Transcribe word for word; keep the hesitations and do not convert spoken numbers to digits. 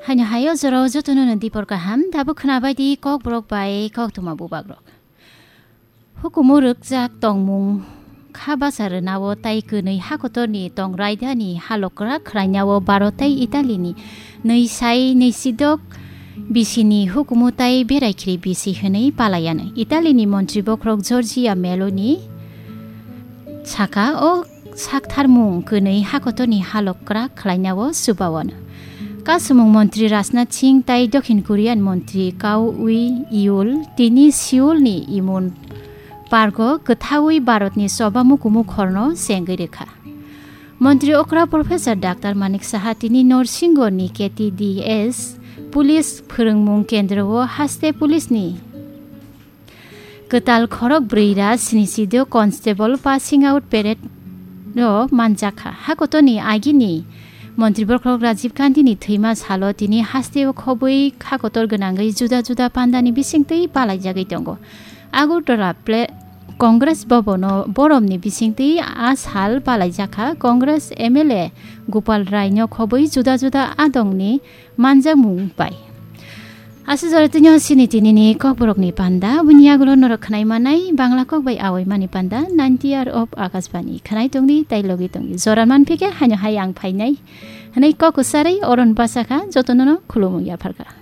Haino hayo jorao jotono no dipor kaham, dabu khwnabai di Kokborok bai koktwma bubagrok. Hukumu rwkjak tongmung kha bacha rwnao tai kwnwi hakotorni tong raidani halokra khwlainao Bharat tai Italyni nwi sai nwi sidok bisini hukumu tai berai khri bisi hwnwi palaiyanw. Italyni montri bokhorok Giorgia Meloni saka o saktharmung kwnwi hakotorni halok kwrak khwlainao chubaono. Kasumung montri Rajnath Singh tai Dokhin Korean montri Kang Wi-yul tini Seoulni Incheon Parko kwthawi Bharatni choba mukumu khorno chengwi rwkha. Montri okra Professor Doctor Manik Saha tini Norsingoni K T D S police phwrwngmung kendro o haste police ni kwtal khorok brwi ra sini sido constable passing out parade o manjakha. Hakotoni agini montri bokhorok Rajiv Gandhi ni thwima salo tini haste o khobwi khakotor gwnangwi juda juda pandani bisingtwi palaijagwi tongo. Agartala ple-, Congress Bhavan o boromni bisingtwi a sal palaijakha Congress M L A Gopal Rai no khobwi juda juda adongni manjakmung bai. Aswk jora tini o sini tinini kokborokni panda, bini yagulo norok khwnai manai Bangla kok bai awai mani panda, ninety R of Akashbani khwnai tongdi tai logi tongdi. Jora manphike haino hai ang phainai hwnwi kok kwcharwi oron bachakha, jotono no khulumung yapharkha.